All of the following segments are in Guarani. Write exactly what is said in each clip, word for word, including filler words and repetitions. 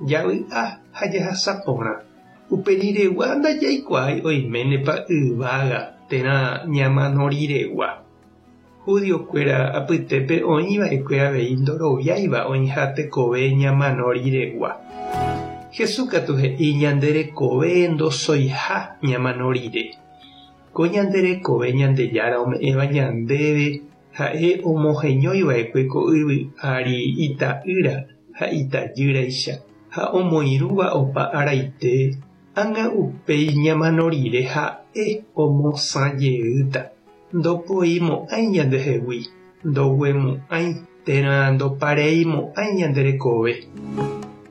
Javy'a ha jahasa porã. Uperiregua ndajaikuaái oiménepa yvága térã ñamano riregua. Judiokuéra apytépe oĩva'ekue avei ndoroviáiva oĩha tekove ñamano riregua. Jesús katu he'i ñande rekove ndosoiha ñamano rire. Ko ñande rekove Ñandejára ome'ẽva ñandéve ha'e omoheñoiva'ekue ko yvy ári ita'ýra ha itajýraicha ha omoirũva opa araite ág̃a upéi ñamano rire ha'e omosãjeýta. Ndopoimo'ãi ñandehegui, ndoguemo'ãi térã ndopareimo'ãi ñande rekove.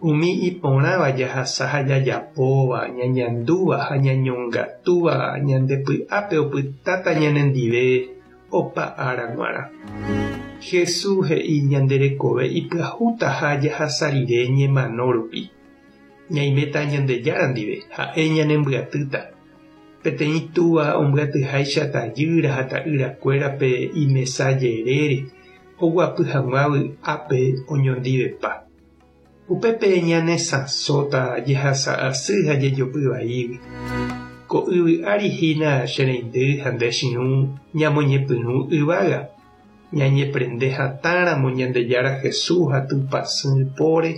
Umi iporãva jahasa ha jajapóva, ñañandúva ha ñañongatúva ñande py'ápe opytáta ñanendive opa ára g̃uarã. Jesús he'i ñande rekove ipyahútaha jahasa rire ñemano rupi. Ñaiméta Ñandejára ndive ha'e ñanembyatýta. Peteĩ túva ombyatyháicha tajýra ha ta'yrakuérape imesa jerére oguapy hag̃ua vy'ápe oñondivepa. Upépe ñanesãsóta jehasa asy ha jejopy vaígui. Ko yvy ári hína che reindy ha nde che irũ ñamoñepyrũ yvága. Ñañeprende hatãramo Ñandejára Jesús ha Tupãsy póre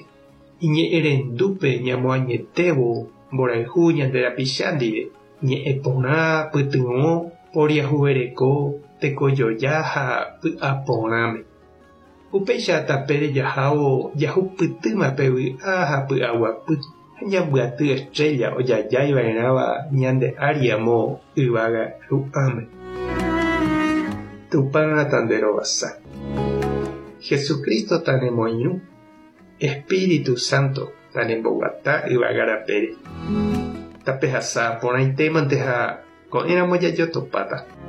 iñe'ẽrendúpe ñamoañetévo mborayhu ñande rapicha ndive. Ñe'ẽ porã, pytyvõ, poriahuvereko, tekojoja ha py'aporãme. Upéicha tapére jahávo jahupytýma pe vy'a ha py'aguapy ha ñambyaty estrella ojajáiva'erãva ñande ári amo yvága ru'ãme. Tupã tanderovasa. Jesucristo tanemoirũ. Espíritu Santo tanemboguata yvága rapére. Tapehasa porãitémante ha ko'ẽramo jajotopáta.